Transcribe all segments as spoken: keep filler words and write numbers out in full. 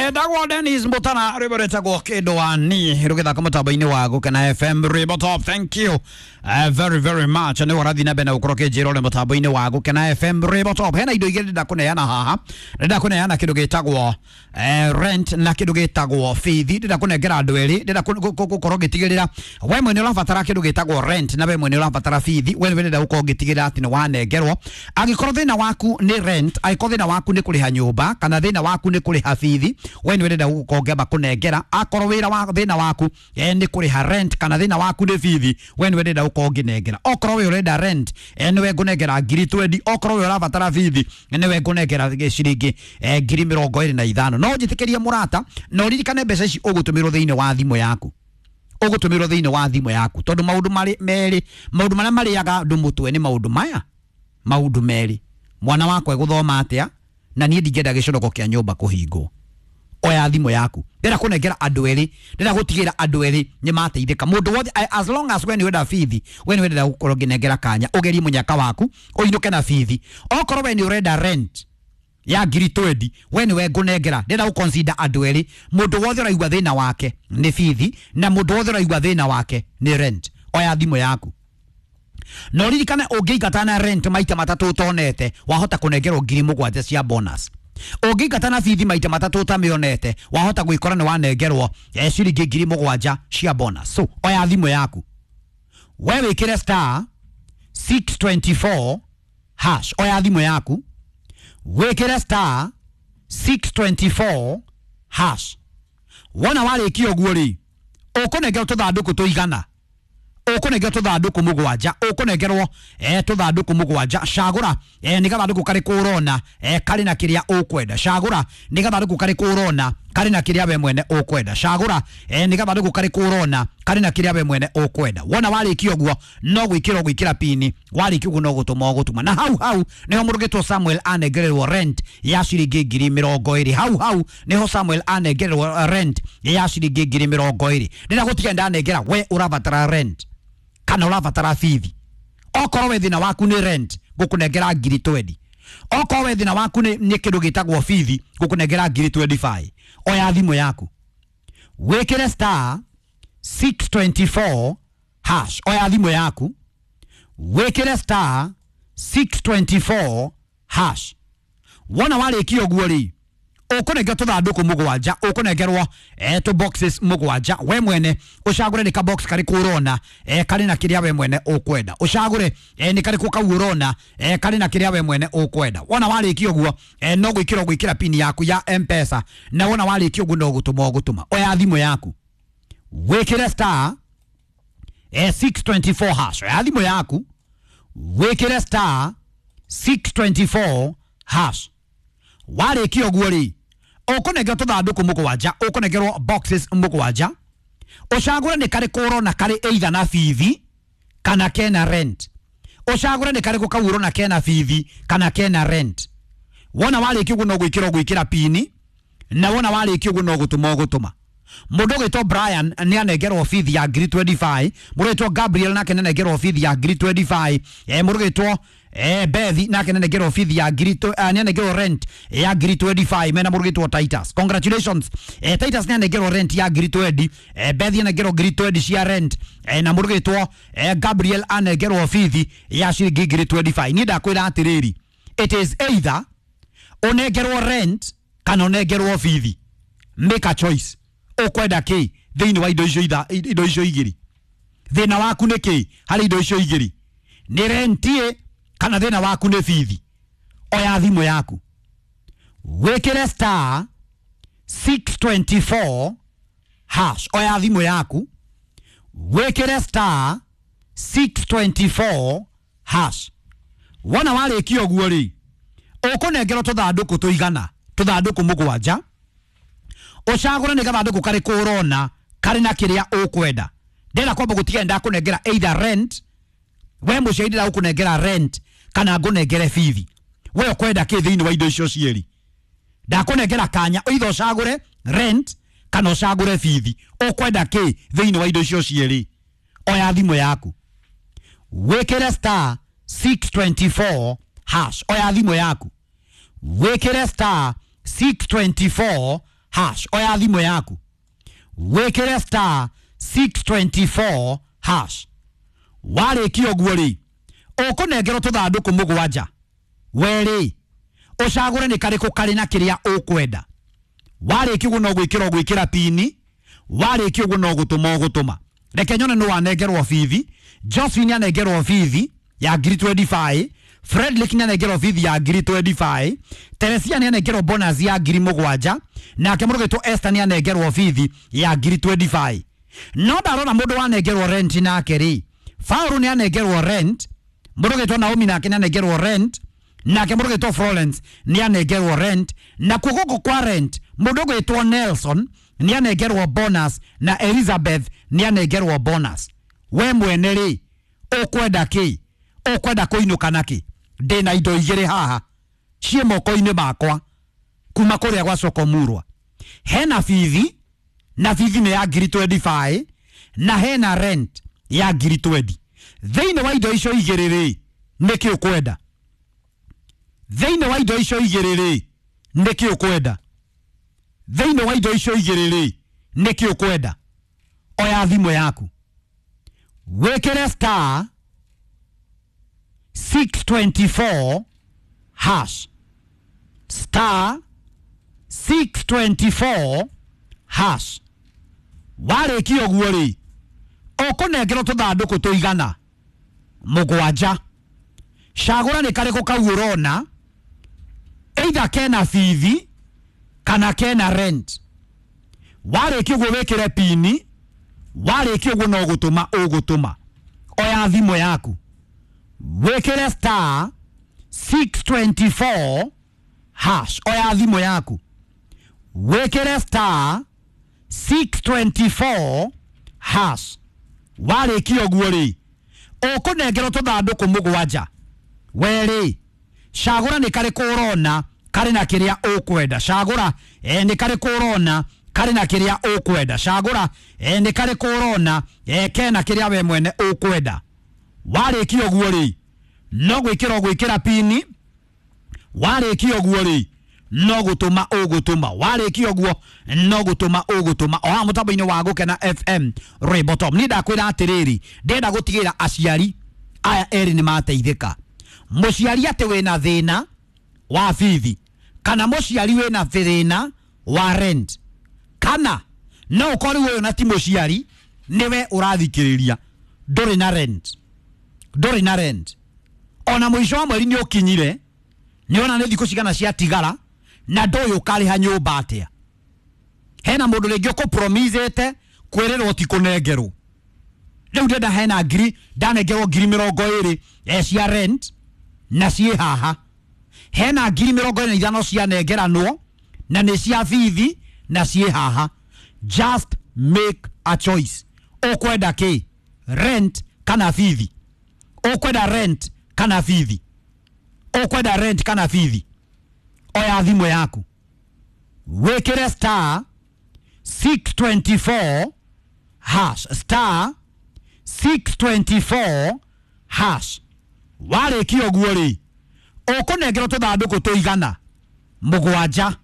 Etagwo Dennis Mutana rwimbo rwĩtagwo kĩndũ wa ni rũgĩthaka mũtambo-inĩ wa Gũkena F M Rwimbo Top. Thank you uh, very very much. Nĩ ũrathiĩ na mbere na gũkorwo kĩnjĩra ũrĩ mũtambo-inĩ wa Gũkena F M Rwimbo Top. Hena indo igĩrĩ ndĩrenda kũneana haha, ndĩrenda kũneana kĩndũ gĩtagwo eh, rent na kĩndũ gĩtagwo bithi. Ndĩrenda kũnengera andũ erĩ, ndĩrenda gũkorwo ngĩtigĩrĩra we mwene ũrabatara kĩndũ gĩtagwo rent na we mwene ũrabatara bithi, we nĩwe ndĩrenda gũkorwo ngĩtigĩrĩra atĩ nĩ wanengerwo. Angĩkorwo thĩna waku nĩ rent, angĩkorwo thĩna waku nĩ kũrĩha nyũmba kana thĩna waku nĩ kũrĩha bithi, we nĩwe ndĩrenda gũkorwo ngĩamba kũnengera. Akorwo wĩra wa thĩna waku eh, nĩ kũrĩha rent kana thĩna waku nĩ bithi, we nĩwe ndĩrenda gũkorwo ngĩnengera. Okorwo we ũrenda rent eh, nĩwe ngũnengera ngiri twendi. Okorwo we ũrabatara bithi nĩwe ngũnengera ciringi eh, ngiri mĩrongo ĩrĩ na ithano. No njĩtĩkĩrie mũrata, na ũririkane mbeca ici ũgũtũmĩrwo thĩinĩ wa thimũ yaku, ũgũtũmĩrwo thĩinĩ wa thimũ yaku, tondũ maũndũ marĩ merĩ, maũndũ marĩa marĩaga andũ mũtwe nĩ maũndũ maya, maũndũ merĩ: mwana wakwa egũthoma atĩa, na niĩ ndingĩenda gĩconoko kĩa nyũmba kũhingwo. Oya thimũ yaku, ndĩrenda kũnengera andũ erĩ, ndĩrenda gũtigĩra andũ erĩ nĩ mateithĩka. Mũndũ wothe, as long as we nĩ wenda bithi, we nĩ wenda gũkorwo ngĩnengera kanya ũgerie mũnyaka waku ũinũke na bithi. Okorwo we nĩ ũrenda rent ya ngiri twendi, we nĩwe ngũnengera. Ndĩrenda gũconsider andũ erĩ, mũndũ wothe ũraigua thĩna wake nĩ bithi na mũndũ wothe ũraigua thĩna wake nĩ rent. Oya thimũ yaku na ũririkane ũngĩingata na rent maita matatũ ũtonete, wahota kũnengerwo ngiri mũgwanja cia bonus. Ũngĩingata na bithi maita matatũ ũtamĩonete, wahota gwĩkora nĩ wanengerwo eh, ciringi ngiri mũgwanja cia bonus. So oya thimũ yaku, we wĩkĩre star six twenty four hash. Oya thimũ yaku wĩkĩre star six twenty four hash. Wona warĩkia ũguo rĩ, ũkũnengerwo tũthandũkũ tũigana, ũkũnengerwo tũthandũkũ mũgwanja, ũkũnengerwo eh, tũthandũkũ mũgwanja. Cagũra eh, nĩ gathandũkũ karĩkũ ũrona eh, karĩ na kĩrĩa ũkwenda. Cagũra nĩ gathandũkũ karĩkũ ũrona karĩ na kĩrĩa we mwene ũkwenda. Cagũra eh, nĩ gathandũkũ karĩkũ ũrona karĩ na kĩrĩa we mwene ũkwenda. Wona warĩkia ũguo no gwĩkĩra ũgwĩkĩra pini, warĩkia ũguo no gũtũma ũgũtũma. Na hau hau nĩho mũrũgĩtwo Samuel anengererwo rent ya ciringi ngiri mĩrongo ĩrĩ. Hau hau nĩho Samuel anengererwo rent ya ciringi ngiri mĩrongo ĩrĩ. Ndĩrenda gũtiga ndanengera we ũrabatara rent kana ũrabatara bithi. Okorwo we thĩna waku nĩ rent, ngũkũnengera ngiri twendi. Okorwo we thĩna waku nĩ nĩ kĩndũ gĩtagwo bithi, ngũkũnengera ngiri twenty five. Oya thimũ yaku wĩkĩre star six twenty four hash. Oya thimũ yaku wĩkĩre star six twenty four hash. Wona warĩkia ũguo rĩ, ũkũnengerwo tũthandũkũ mũgwanja, ũkũnengerwo eh, tũ boxes mũgwanja. We mwene ũcagũre nĩ ka box karĩkũ ũrona eh, karĩ na kĩrĩa we mwene ũkwenda. Ũcagũre eh, nĩ karĩkũ kau ũrona eh, karĩ na kĩrĩa we mwene ũkwenda. Wona warĩkia ũguo eh, no gwĩkĩra ũgwĩkĩra pini yaku ya M-Pesa, na wona warĩkia ũguo no gũtũma ũgũtũma. Oya thimũ yaku wĩkĩre star eh, six twenty four hash. Oya thimũ yaku wĩkĩre star six twenty four hash. Warĩkia ũguo rĩ, ũkũnengerwo tũthandũkũ mũgwanja, ũkũnengerwo boxes mũgwanja. Ũcagũre nĩ karĩkũ ũrona karĩ either na bithi kana kena rent. Ũcagũre nĩ karĩkũ kau ũrona kena bithi kana kena rent. Wona warĩkia ũguo no gwĩkĩra ũgwĩkĩra pini, na wona warĩkia ũguo no gũtũma ũgũtũma. Mũndũ ũgwĩtwo Brian nĩ anengerwo bithi ya ngiri twenty five. Mũndũ ũgwĩtwo Gabriel nake nĩ anengerwo bithi ya ngiri twenty five. Eh, mũndũ ũgwĩtwo eh, Bethi nake nĩ anengerwo bithi ya ngiri uh, nĩ anengerwo rent ya ngiri twenty five. Mena mũndũ ũgwĩtwo Titus. Congratulations. Eh, Titus nĩ anengerwo rent ya ngiri twenty. Eh, Bethi anengerwo ngiri twenty cia rent. Eh, na mũndũ ũgwĩtwo eh, Gabriel anengerwo bithi ya ciringi ngiri twenty five. Niĩ ndakwĩra atĩrĩrĩ, it is either ũnengerwo rent kana ũnengerwo bithi. Make a choice. Ũkwenda kĩ thĩinĩ wa indo icio itha indo icio igĩrĩ? Thĩna waku nĩ kĩ harĩ indo icio igĩrĩ? Nĩ rent kana thĩna waku nĩ bithi? Oya thimũ yaku wĩkĩre star six twenty four hash. Oya thimũ yaku wĩkĩre star six twenty four hash. Wona warĩkia ũguo rĩ, ũkũnengerwo tũthandũkũ tũigana, tũthandũkũ mũgwanja. Ũcagũre nĩ gathandũkũ karĩkũ ũrona karĩ na kĩrĩa ũkwenda. Ndĩrenda kwamba gũtiga ndakũnengera either rent, we mũciari ndĩrenda gũkũnengera rent kana ngũnengere bithi. We ũkwenda kĩ thĩinĩ wa indo icio cierĩ? Ndakũnengera kanya either ũcagũre rent kana ũcagũre bithi. Ũkwenda kĩ thĩinĩ wa indo icio cierĩ? Oya thimũ yaku wĩkĩre star six twenty four hash. Oya thimũ yaku wĩkĩre star six twenty four hash. Oya thimũ yaku wĩkĩre star six twenty-four hash. Warĩkia ũguo rĩ, ũkũnengerwo tũthandũkũ mũgwanja. We rĩ, ũcagũre nĩ karĩkũ karĩ na kĩrĩa ũkwenda. Warĩkia ũguo no gwĩkĩra ũgwĩkĩra pini, warĩkia ũguo no gũtũma ũgũtũma. Reke nyone nĩ wanengerwo bithi. Josephine anengerwo bithi ya ngiri twenty-five, Frederick nĩ anengerwo bithi ya ngiri twenty-five, Teresia nĩ anengerwo bonus ya ngiri mũgwanja, nake mũrũgĩtwo Esther nĩ anengerwo bithi ya ngiri twenty-five. No ndarona mũndũ wanengerwo rent nake rĩ, Faulu nĩ anengerwo rent, mũrũgĩtwo Naomi nake nĩ anengerwo rent, nake mũrũgĩtwo Florence nĩ anengerwo rent, na kuo gũkũ kwa rent mũndũ ũgwĩtwo Nelson nĩ anengerwo bonus na Elizabeth nĩ anengerwo bonus. We mwene rĩ, ũkwenda kĩ? Ũkwenda kũinũka nakĩ? Ndĩna indo igĩrĩ haha ciĩ moko-inĩ makwa kuma kũrĩa gwa Sokomurwa. Hena bithi, na bithi nĩ ya ngiri twenty-five, na hena rent ya ngiri twenty. Thĩinĩ wa indo icio igĩrĩ rĩ, nĩkĩ ũkwenda? Thĩinĩ wa indo icio igĩrĩ rĩ, nĩkĩ ũkwenda? Thĩinĩ wa indo icio igĩrĩ rĩ, nĩkĩ ũkwenda? Oya thimũ yaku wĩkĩre star six twenty-four hash, star six twenty-four hash. Warĩkia ũguo rĩ, ũkũnengerwo tũthandũkũ tũigana mũgwanja. Cagũra nĩ karĩkũ kau ũrona, either kena bithi kana kena rent. Warĩkia ũguo wĩkĩre pini, warĩkia ũguo no gũtũma ũgũtũma. Oya thimũ yaku wĩkĩre star six twenty-four hash. Oya thimũ yaku wĩkĩre star six twenty-four hash. Warĩkia ũguo rĩ, ũkũnengerwo tũthandũkũ mũgwanja. We rĩ, cagũra nĩ karĩkũ ũrona karĩ na kĩrĩa ũkwenda. Cagũra eh, nĩ karĩkũ ũrona karĩ na kĩrĩa ũkwenda. Cagũra eh, nĩ karĩkũ ũrona eh, kena kĩrĩa we mwene ũkwenda. Warĩkia ũguo rĩ, no gwĩkĩra ũgwĩkĩra pini. Warĩkia ũguo rĩ, no gũtũma ũgũtũma. Warĩkia ũguo no gũtũma ũgũtũma. O haha mũtambo-inĩ wa Gũkena F M Rainbow Top. Niĩ ndakwĩra atĩrĩrĩ, ndĩrenda gũtigĩrĩra aciari aya erĩ nĩ mateithĩka. Mũciari atĩ wĩna thĩna wa bithi, kana mũciari wĩna thĩna wa rent, kana no ũkorwo ũyũ na ti mũciari, nĩwe ũrathikĩrĩria, ndũrĩ na rent, ndũrĩ na rent. Ona mũico wa mweri nĩ ũkinyire, nĩ ona nĩ thikũ cigana ciatigara, na ndũĩ ũkarĩha nyũmba atĩa. Hena mũndũ rĩngĩ ũkũpromisĩte kwĩrĩrwo ti kũnengerwo. Rĩu ndĩrenda hena ngiri, ndanengerwo ngiri mĩrongo ĩrĩ eh, cia rent na ciĩ haha. Hena ngiri mĩrongo ĩna na ithano cianengeranwo na nĩ cia bithi na ciĩ haha. Just make a choice. Ũkwenda kĩ? Rent kana bithi? Ũkwenda rent kana bithi? Ũkwenda rent kana bithi? Oya thimũ yaku wĩkĩre star six twenty-four hash, star six twenty-four hash. Warĩkia ũguo rĩ, ũkũnengerwo tũthandũkũ tũigana mũgwanja.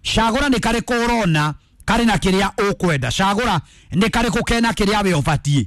Cagũra nĩ karĩkũ ũrona karĩ na kĩrĩa ũkwenda. Cagũra nĩ karĩkũ kena kĩrĩa we ũbatiĩ.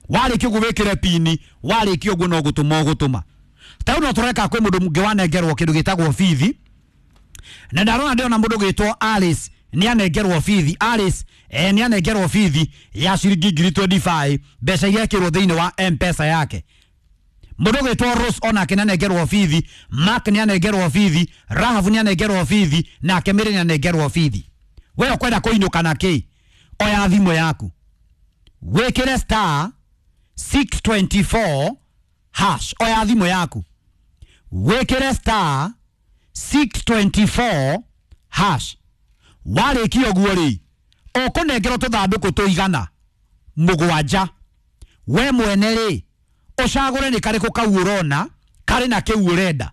Warĩkia ũguo wĩkĩre pini, warĩkia ũguo no gũtũma ũgũtũma. Ta rĩu no tũreka kwĩ mũndũ ũngĩ wanengerwo kĩndũ gĩtagwo bithi, na ndarona ndĩrona mũndũ ũgwĩtwo Alice nĩ anengerwo bithi. Alice eh, nĩ anengerwo bithi ya ciringi ngiri twenty-five, mbeca iria ekĩrwo thĩinĩ wa M-Pesa yake. Mũndũ ũgwĩtwo Rose onake nĩ anengerwo bithi, Mark nĩ anengerwo bithi, Rahabu nĩ anengerwo bithi, nake Mary nĩ anengerwo bithi. We ũkwenda kũinũka na kĩ? Oya thimũ yaku wĩkĩre star six twenty-four hash. Oya thimũ yaku wĩkĩre star six twenty-four hash. Warĩkia ũguo rĩ, ũkũnengerwo tũthandũkũ tũigana mũgwanja. We mwene rĩ, ũcagũre nĩ karĩkũ kau ũrona karĩ na kĩu ũrenda.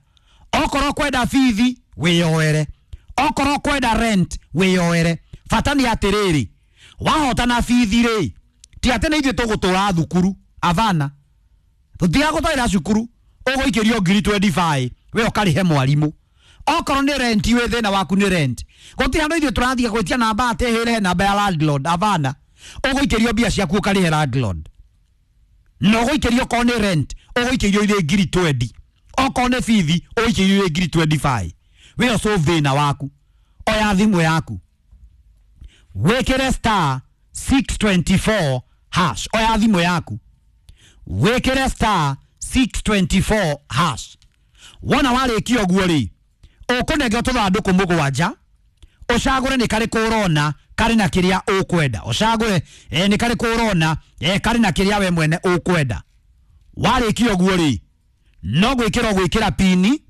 Okorwo kwenda bithi wĩyoere, okorwo kwenda rent wĩyoere. Bata nĩ atĩrĩrĩ, wahota na bithi rĩ, ti atĩ nĩ ithuĩ tũgũtũra thukuru, avana tũtigagũtwarĩra cukuru, ũgũikĩrio ngiri twenty-five we ũkarĩhe mwarimũ. Okorwo nĩ rent wĩ thĩna waku nĩ rent. Gũtirĩ handũ ithuĩ tũrathiĩ gwĩtia namba atĩ hĩre namba ya landlord avana. Ũgũikĩrio mbia ciaku ũkarĩhe landlord. No ũgũikĩrio okorwo nĩ rent ũgũikĩrio irĩ ngiri twenty. Okorwo nĩ bithi ũgũikĩrio irĩ ngiri twenty-five. Wĩ solve thĩna waku. Oya thimũ yaku. Wĩkĩre star six twenty-four hash. Oya thimũ yaku. Wĩkĩre star six twenty-four hash. Wona warĩkia ũguo rĩ, ũkũnengera tũthandũkũ mũgwanja, ũcagũre nĩ karĩkũ ũrona karĩ na kĩrĩa ũkwenda. Ũcagũre eh, nĩ karĩkũ ũrona eh, karĩ na kĩrĩa we mwene ũkwenda. Warĩkia ũguo rĩ, no gwĩkĩra ũgwĩkĩra pini.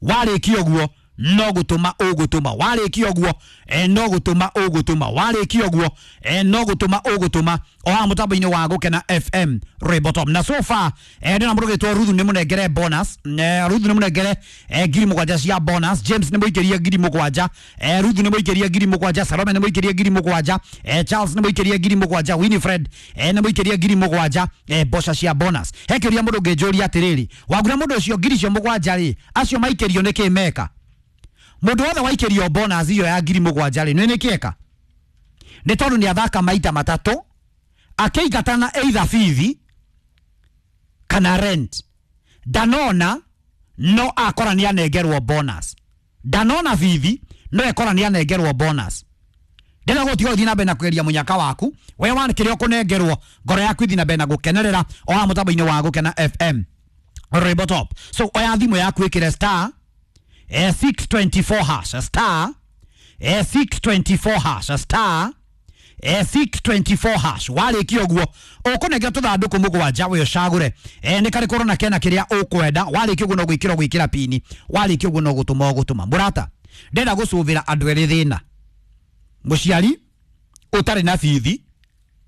Warĩkia ũguo no gũtũma ũgũtũma. Warĩkia ũguo eh, no gũtũma ũgũtũma. Warĩkia ũguo eh, no gũtũma ũgũtũma. O haha mũtambo-inĩ wa Gũkena F M Ribotop. Na so far eh, ndĩna mũndũ ũgĩtwo Ruthu nĩ mũnengere bonus. Eh, Ruthu nĩ mũnengere eh, ngiri mũgwanja cia bonus. James nĩ mũikĩrie ngiri mũgwanja. Eh, Ruthu nĩ mũikĩrie ngiri mũgwanja. Salome nĩ mũikĩrie ngiri mũgwanja. Eh, Charles nĩ mũikĩrie ngiri mũgwanja. Winifred eh, nĩ mũikĩrie ngiri mũgwanja eh, mboca cia bonus. He kĩũria mũndũ ũngĩnjũria atĩrĩrĩ, wagura mũndũ ũcio ngiri icio mũgwanja rĩ, acio maikĩrio nĩkĩ meka? Mũndũ wothe waikĩrio bonus iyo ya ngiri mũgwanja rĩ, nĩ nĩkĩeka? Nĩ tondũ nĩ athaka maita matatũ akĩingatana either bithi kana rent. Ndanona no akora nĩ anengerwo bonus. Ndanona bithi no ekora nĩ anengerwo bonus. Ndĩrenda gũtiga ũthiĩ na mbere na kũgeria mũnyaka waku. We wana kĩrĩa ũkũnengerwo, ngoro yaku ĩthiĩ na mbere na gũkenerera o haha mũtambo-inĩ wa Gũkena F M Ribotop. So oya thimũ yaku ĩkĩre star eh, six twenty-four hash star eh, six twenty-four hash star eh, six twenty-four hash. Warĩkia ũguo ũkũnengera tũthandũkũ mũgwanja we ũcagũre eh, nĩ karĩkũ ũrona kena kĩrĩa ũkwenda. Warĩkia ũguo no gwĩkĩra ũgwĩkĩra pini. Warĩkia ũguo no gũtũma ũgũtũma. Mũrata, ndĩrenda gũcũvĩra andũ erĩ thĩna, mũciari ũtarĩ na bithi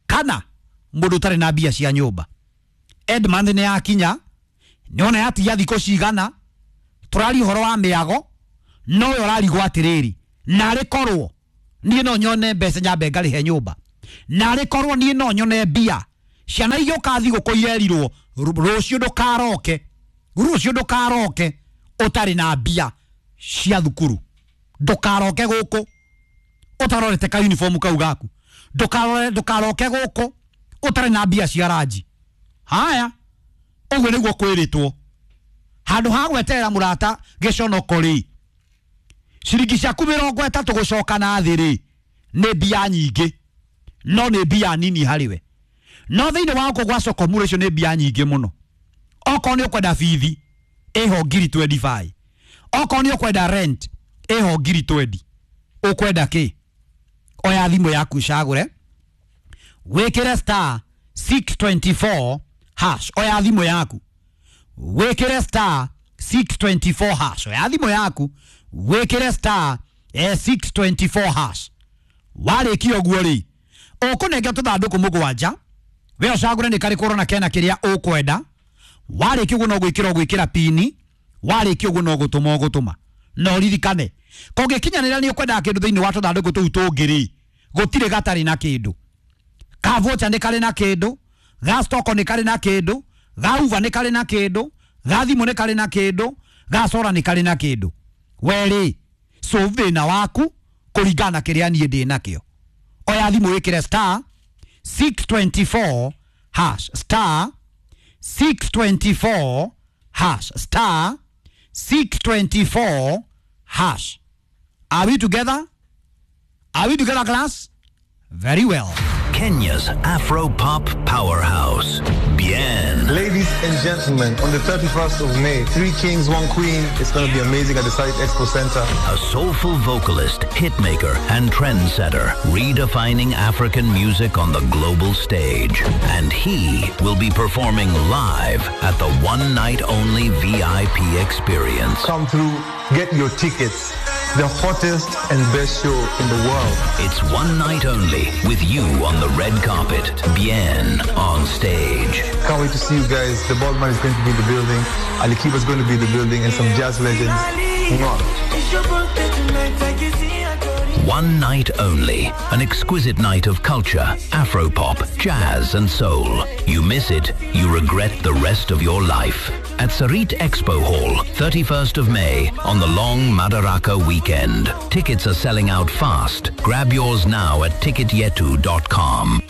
kana mũndũ ũtarĩ na mbia cia nyũmba. Edmund nĩ yakinya, nĩwona yatigia thikũ cigana, tũraria ũhoro wa mĩago, no we ũrarigwo atĩrĩrĩ, narĩ korwo niĩ no nyone mbeca nyambe ngarĩhe nyũmba, narĩ korwo niĩ no nyone mbia, ciana igĩũka thigũkũ irerirwo rũciũ ndũkaroke, rũciũ ndũkaroke ũtarĩ na mbia cia thukuru, ndũkaroke gũkũ ũtarorete ka uniform kau gaku, ndũkarore ndũkaroke gũkũ ũtarĩ na mbia cia ranji. Haya, ũguo nĩguo kwĩrĩtwo. Handũ ha gweterera mũrata gĩconoko rĩ, ciringi ciaku mĩrongo ĩtatũ gũcoka na thĩ rĩ, nĩ mbia nyingĩ, no nĩ mbia nini harĩ we. No thĩinĩ wa gũkũ gwa Sokomuro icio nĩ mbia nyingĩ mũno. Okorwo nĩ ũkwenda bithi ĩho ngiri twenty-five, okorwo nĩ ũkwenda rent ĩho ngiri twenty. Ũkwenda kĩ? Oya thimũ yaku ũcagũre, wĩkĩre star six twenty-four hash. Oya thimũ yaku wĩkĩre star six twenty-four hash. Oya thimũ yaku wĩkĩre star eh, six twenty-four hash. Warĩkia ũguo rĩ, ũkũnengera tũthandũkũ mũgwanja, we ũcagũre nĩ karĩkũ ũrona kena kĩrĩa ũkwenda. Warĩkia ũguo no gwĩkĩra ũgwĩkĩra pini. Warĩkia ũguo no gũtũma ũgũtũma. No ririkane, kũngĩkinyanĩra nĩ ũkwendaga kĩndũ thĩinĩ wa tũthandũkũ tũu tũngĩ rĩ, gũtirĩ gatarĩ na kĩndũ. Ka voucher nĩ karĩ na kĩndũ, ga stock nĩ karĩ na kĩndũ, ga uva nĩ karĩ na kĩndũ, ga thimũ nĩ karĩ na kĩndũ, ga sora nĩ karĩ na kĩndũ. We rĩ, solve thĩna waku kũringana na kĩrĩa niĩ ndĩ nakĩo. Oya thimũ wĩkĩre star six twenty-four hash star six twenty-four hash star six twenty-four hash. Are we together? Are we together, class? Very well. Kenya's Afro Pop powerhouse, Bien. Ladies and gentlemen, on the thirty-first of May, Three Kings, One Queen. It's going to be amazing at the Site Expo Center. A soulful vocalist, hitmaker, and trendsetter, redefining African music on the global stage. And he will be performing live at the one night only V I P experience. Come through, get your tickets. The hottest and best show in the world. It's one night only with you on the red carpet, Bien on stage. Can't wait to see you guys. The Baldman is going to be in the building. Ali Kiba is going to be in the building, and some jazz legends. Mwah. One night only. An exquisite night of culture, Afropop, jazz and soul. You miss it, you regret the rest of your life. at Sarit Expo Hall, thirty-first of May, on the long Madaraka weekend. Tickets are selling out fast. Grab yours now at ticket yetu dot com.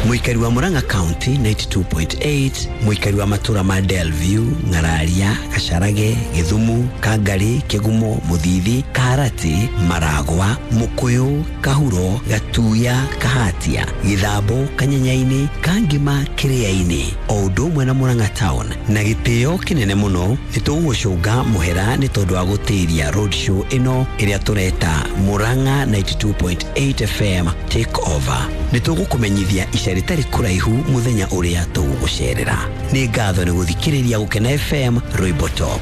Mũikari wa Murang'a County ninety-two point eight, mũikari wa matura ma Delview, Ng'araria, Gacharage, Githumu, Kangari, Kigumo, Muthithi, Kaharati, Maragwa, Mukuyu, Kahuro, Gatuya, Kahatia, Githambo, Kanyenyaini, Kangima, Kiriaini, o ũndũ ũmwe na Murang'a Town. Na gĩtĩo kĩnene mũno nĩ tũgũgũcũnga mũhera nĩ tondũ wa gũtĩria road show ĩno ĩrĩa tũreta Murang'a ninety-two point eight F M Take Over. Nĩ tũgũkũmenyithia ica rĩtarĩ kũraihu mũthenya ũrĩa tũgũgũcerera. Nĩ ngatho nĩ gũthikĩrĩria Gũkena F M Rwĩmbo Top.